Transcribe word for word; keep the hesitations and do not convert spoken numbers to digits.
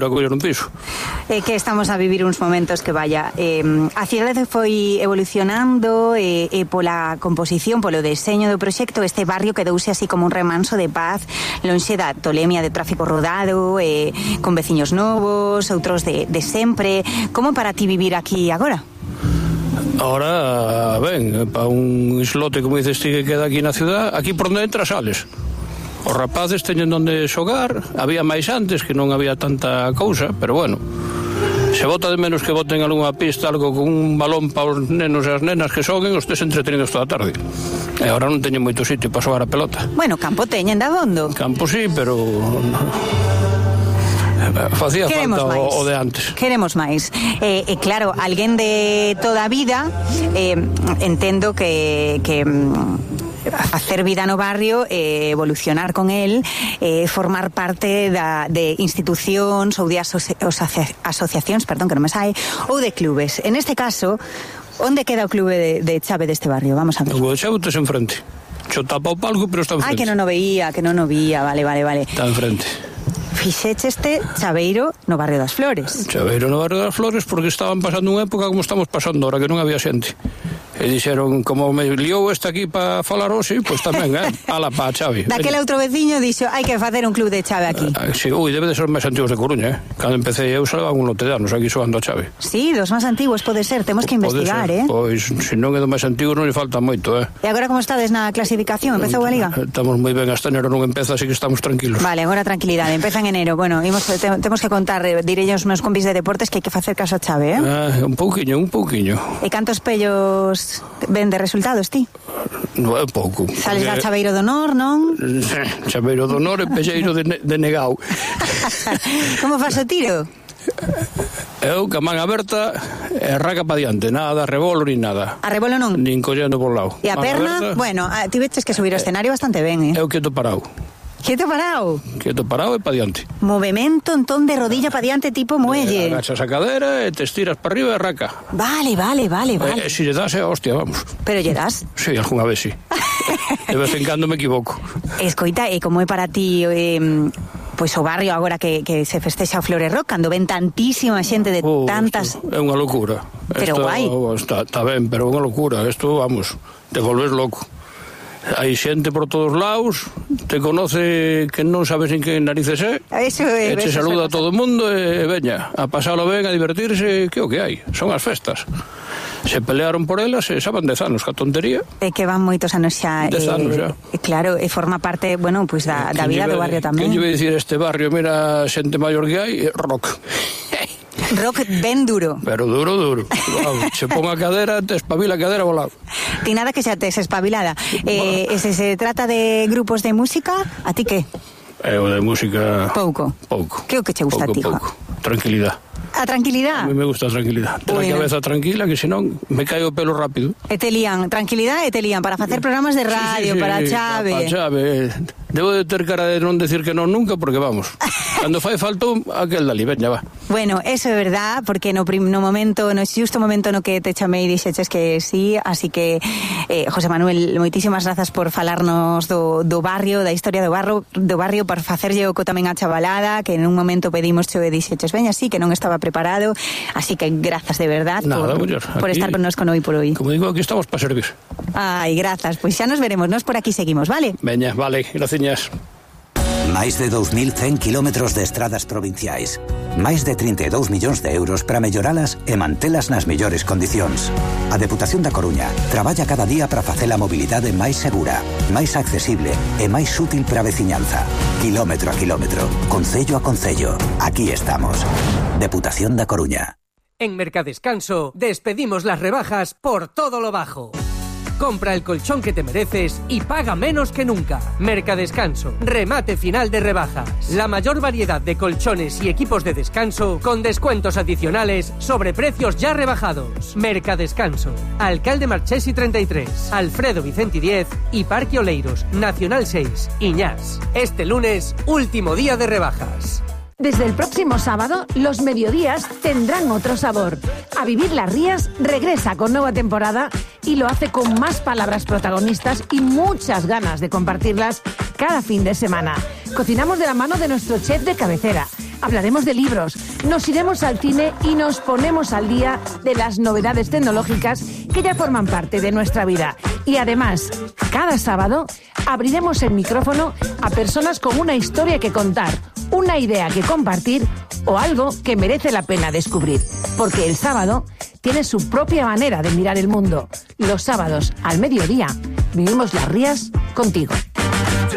a coller un piso. É que estamos a vivir uns momentos que vaya eh, a cidade foi evolucionando e eh, eh, pola composición, polo deseño do proxecto, este barrio quedouse así como un remanso de paz, lonxe da tolemia de tráfico rodado, eh, con veciños novos, outros de, de sempre. Como para ti vivir aquí agora? Ahora, ben, para un islote como dices ti que queda aquí na ciudad, aquí por onde entras sales. Os rapaces teñen onde xogar, había máis antes que non había tanta cousa, pero bueno, se bota de menos que boten algunha pista, algo con un balón para os nenos e as nenas que xoguen, os tes entretenidos toda a tarde. E agora non teñen moito sitio para xogar a pelota. Bueno, campo teñen de abondo. Campo sí, pero facía Queremos falta máis. o, o de antes. Queremos máis. E eh, eh, claro, alguén de toda a vida, eh, entendo que... que facer vida no barrio, eh, evolucionar con el, eh, formar parte da, de institucións ou de asoci, asociacións, perdón, que non me sai, ou de clubes. En este caso, onde queda o clube de, de chave deste barrio? Vamos a ver. O de chave tes enfrente. Xo tapa o palco, pero está enfrente. Ai, que non o veía, que non o veía, vale, vale, vale. Está enfrente. Fixeche este chaveiro no barrio das Flores. Chaveiro no barrio das Flores porque estaban pasando unha época como estamos pasando ahora, que non había xente. E dixeron, como me liou este aquí para falar hoxe, pois tamén, eh? Ala pa chave. Daquele outro veciño dixo, hai que facer un club de chave aquí. Uh, sí, ui, debe de ser máis antigos de Coruña, eh? Cando empecé eu salvaban un lote de anos aquí xogando a chave. Sí, dos máis antiguos pode ser, temos que investigar, eh? Pois, se non é do máis antigo non lle falta moito, eh? E agora como estades na clasificación? Empezou a Liga? Estamos moi ben, hasta enero non empeza, así que estamos tranquilos. Vale, agora tranquilidade, empeza en enero. Bueno, imos, te, temos que contar, eh, direi os meus compis de deportes que hai que facer caso a chave, eh? Ah, un pouquiño, un pouquiño. E cantos pellos ven de resultados, ti? Non é pouco. Sales da chaveiro do honor, non? Chaveiro do honor e pelleiro de, ne- de negao. Como faz o tiro? Eu, ca man aberta, e raca pa diante, nada, rebolo ni nada. A rebolo non? Nin collendo por lado. E a Man perna? aberta, Bueno, a, ti veches que subir o escenario bastante ben, eh? Eu quieto parado. Quieto parado? Quieto parado e pa diante. Movimento entón de rodilla pa diante tipo muelle. Eh, agachas a cadera e te estiras para arriba e raca. Vale, vale, vale, vale. E, e si lle das, é hostia, vamos. Pero lle das? Sí, algunha vez sí. De vez en cando me equivoco. Escoita, e como é para ti eh, pois o barrio agora que, que se festexa o Flores Rock, cando ven tantísima xente de Oh, tantas... É unha locura. Pero Esto, guai. Está, está ben, pero é unha locura. Isto, vamos, te volves loco. Hai xente por todos lados, te conoce que non sabes en que narices é, Eso é, e te eso saluda a pasa. todo o mundo e veña, a pasalo ben, a divertirse, que é o que hai, son as festas. Se pelearon por elas e xa van dez anos, que a tontería. É que van moitos anos xa. Dez eh, anos xa. eh, Claro, e forma parte, bueno, pois pues da, da vida do barrio tamén. Que lle vai dicir este barrio, mira, xente maior que hai, rock. Rock ben duro. Pero duro, duro. Wow, se pon a cadera, te espabila a cadera volado. Ti nada que xa tes espabilada. Eh, e se se trata de grupos de música, a ti que? Eu de música... Pouco. Pouco. Que é o que che gusta pouco, a ti, pouco. Tranquilidad. A tranquilidad? A mí me gusta a tranquilidad. Ten Bueno. a cabeza tranquila, que senón me cae o pelo rápido. E te lían, tranquilidad e te lían para facer programas de radio, Sí, sí, sí, para a chave. Para a chave. Debo de ter cara de non decir que non nunca, porque vamos, cando fai falta aquel dali, veña, va. Bueno, eso é verdad, porque no, prim, no momento, no xusto momento no que te chamei dixeches que sí, así que eh, José Manuel, moitísimas grazas por falarnos do, do barrio, da historia do barrio, do barrio, por facerlle oco tamén a chavalada, que en un momento pedimos xo e dixeches, veña, sí, que non estaba preparado, así que grazas de verdad. Nada, por, muller, por aquí, estar con nos con hoy por hoy. Como digo, aquí estamos para servir. Ai, grazas, pois xa nos veremos, nos por aquí seguimos, vale? Veña, vale, graciñas. Máis de dous mil cen kilómetros de estradas provinciais. Máis de trinta e dous millóns de euros para melloralas e mantelas nas mellores condicións. A Deputación da Coruña traballa cada día para facer a mobilidade máis segura, máis accesible e máis útil para a veciñanza. Kilómetro a kilómetro, concello a concello. Aquí estamos. Deputación da Coruña. En Mercadescanso despedimos las rebajas por todo lo bajo. Compra el colchón que te mereces y paga menos que nunca. Mercadescanso, remate final de rebajas. La mayor variedad de colchones y equipos de descanso con descuentos adicionales sobre precios ya rebajados. Mercadescanso, Alcalde Marchesi treinta y tres, Alfredo Vicenti diez y Parque Oleiros, Nacional seis, Iñás. Este lunes, último día de rebajas. Desde el próximo sábado, los mediodías tendrán otro sabor. A Vivir las Rías regresa con nueva temporada y lo hace con más palabras protagonistas y muchas ganas de compartirlas cada fin de semana. Cocinamos de la mano de nuestro chef de cabecera, hablaremos de libros, nos iremos al cine y nos ponemos al día de las novedades tecnológicas que ya forman parte de nuestra vida. Y además, cada sábado abriremos el micrófono a personas con una historia que contar, una idea que compartir o algo que merece la pena descubrir. Porque el sábado tiene su propia manera de mirar el mundo. Los sábados al mediodía vivimos las rías contigo.